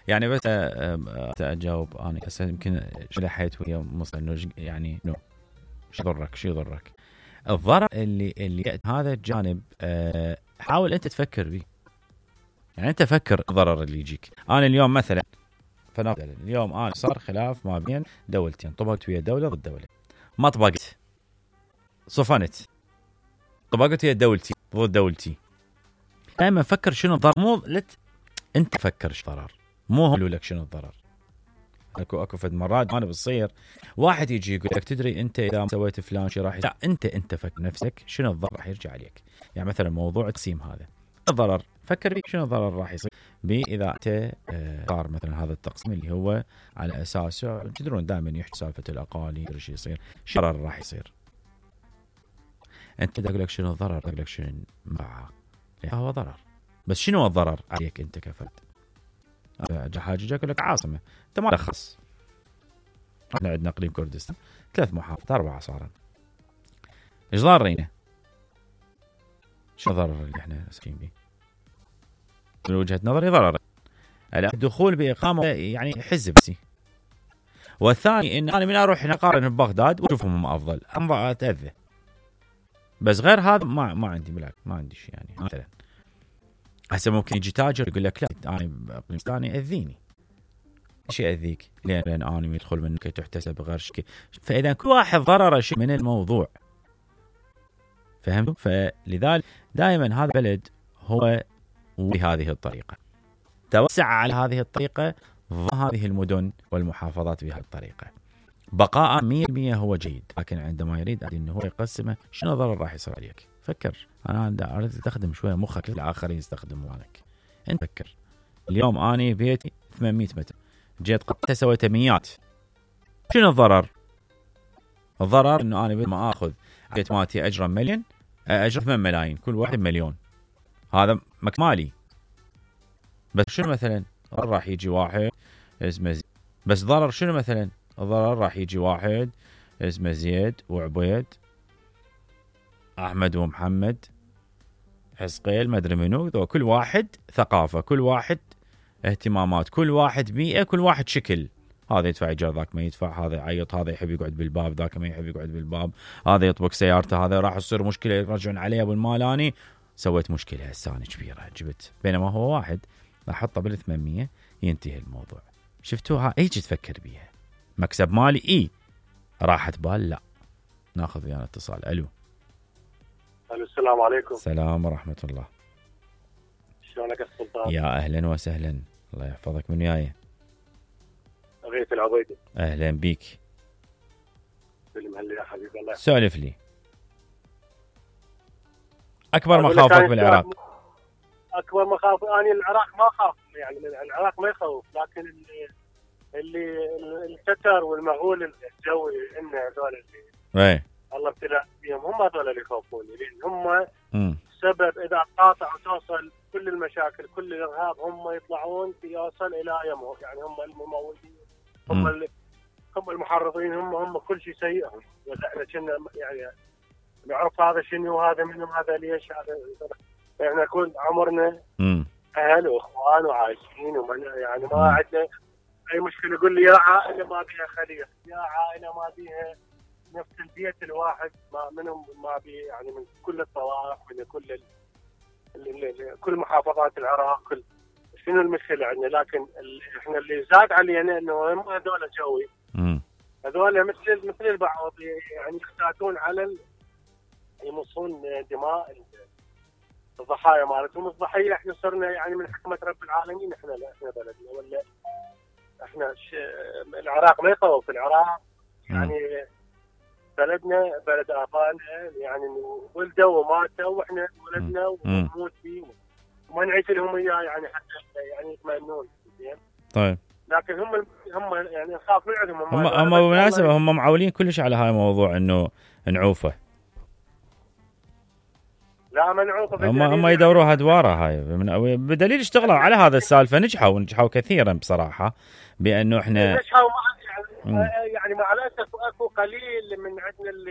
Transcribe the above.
يعني بس اجاوب انا هسه يمكن شلحيت ويا انه يعني شو يضرك الضرر اللي هذا الجانب. حاول انت تفكر به، يعني انت فكر الضرر اللي يجيك. انا اليوم مثلا فنقول اليوم انا صار خلاف ما بين دولتين، طبقت ويا دوله ضد دوله، ما طبقت، صفنت، طبقت ويا دولتي ضد دولتي. دائما فكر شنو الضرر، مو انت فكر شو الضرر، مو هم يقولوا لك شنو الضرر. اكو فد مرات انا بتصير واحد يجي يقول لك تدري انت اذا سويت فلان شيء راح لا، انت فكر نفسك شنو الضرر راح يرجع عليك. يعني مثلا موضوع التقسيم هذا الضرر، فكر فيه شنو الضرر راح يصير اذا انت صار مثلا هذا التقسيم اللي هو على اساسه تدرون دائما يحكي سالفه الاقاليم شو يصير، شو الضرر راح يصير. انت اقول لك شنو الضرر، اقول لك شنو معه، هو ضرر، بس شنو الضرر عليك انت كفرد؟ حاجه اقول لك عاصمه انت ما تخص. احنا عندنا اقليم كردستان 3 محافظات 4 صارن، ايش ضارينا؟ شو الضرر اللي احنا ساكنين به؟ من وجهه نظري ضرر الدخول باقامه يعني حزبسي، والثاني ان انا من اروح اقارن ببغداد واشوفهم هم افضل اتاذى. بس غير هذا ما عندي ملاك، ما عندي شيء. يعني مثلا هسه ممكن يجي تاجر يقول لك لا انا باقليم ثاني اذيني، شيء اذيك لان انا يدخل منك تحتسب غير شيء. فاذا كل واحد ضرر شيء من الموضوع، فهمتوا؟ فلذلك دائما هذا البلد هو بهذه الطريقه، توسع على هذه الطريقه، هذه المدن والمحافظات بهذه الطريقه، بقاء 100% هو جيد. لكن عندما يريد انه هو يقسمه، شنو ضرر راح يصير عليك؟ فكر. انا اريد تستخدم شويه مخك، الاخرين يستخدموا مالك. انت فكر. اليوم اني بيتي 800 متر، جيت قطعته سويته 100، شنو الضرر؟ الضرر انه انا بدل ما اخذ بيت مالتي اجره مليون، اجره 8 ملايين، كل واحد مليون، هذا مالي. بس شنو مثلا راح يجي واحد اسمه بس ضرر شنو مثلا؟ الضرر راح يجي واحد اسمه زيد وعبيد، احمد ومحمد، حسقيل، ما ادري منو، كل واحد ثقافه، كل واحد اهتمامات، كل واحد بيئه، كل واحد شكل. هذا يدفع ايجار، ذاك ما يدفع، هذا يعيط، هذا يحب يقعد بالباب، ذاك ما يحب يقعد بالباب، هذا يطبق سيارته، هذا راح تصير مشكله يرجعون عليه ابو المالاني، سويت مشكله هسه انا كبيره جبت، بينما هو واحد احطه بال 800 ينتهي الموضوع. شفتوها؟ هيك تفكر بيها. مكسب مالي راحت بال لا. ناخذ ويانا اتصال. الو السلام عليكم. السلام ورحمه الله. شلونك السلطان؟ يا اهلا وسهلا، الله يحفظك. من وياي؟ غيث العبيدي. اهلا بيك. سلم هلا يا حبيب الله. سولف لي. اكبر مخاوفك بالعراق؟ اكبر مخاوف اني العراق ما اخاف، يعني العراق ما يخوف، لكن اللي الستر والمغول الجوي ان هذول اللي الله ابتلى بهم، هم هذول اللي يخوفوني، لان هم سبب اذا قاطع وتوصل كل المشاكل كل الارهاب، هم يطلعون يوصل الى يمهم. يعني هم الممولين، هم المحرضين، هم كل شيء سيئهم. احنا كنا يعني نعرف هذا شنو وهذا منهم، هذا ليش، هذا احنا كل عمرنا اهل واخوان وعايشين، ومن يعني ما عندنا اي مشكله. يقول لي يا عائله ما بيها خليط، يا عائله ما بيها نفس البيت الواحد، ما منهم ما بي، يعني من كل الطوائف، من كل محافظات العراق، كل شنو المشكله عندنا. لكن احنا اللي زاد علينا انه هم هذول جوي، هذول مثل البعض يعني يختاتون على يمصون دماء الضحايا مالتهم. الضحيه احنا صرنا يعني من حكمه رب العالمين، احنا لا، احنا بلدنا ولا احنا العراق ما يخوف. العراق يعني بلدنا، بلد ابائنا، يعني ولدوا وماتوا واحنا ولدنا ونموت فيه وما نعيش لهم اياه، يعني حتى يعني يطمئنون. زين طيب، لكن هم يعني نخاف من عندهم. هم بالمناسبه هم معولين كلش على هاي الموضوع انه نعوفه. لا ما نعوفه، هم يدوروها ادواره هاي بدليل اشتغلوا على هذا السالفه، نجحوا كثيرا بصراحه، بانه احنا نجحوا يعني مع الاسف اكو قليل من عندنا اللي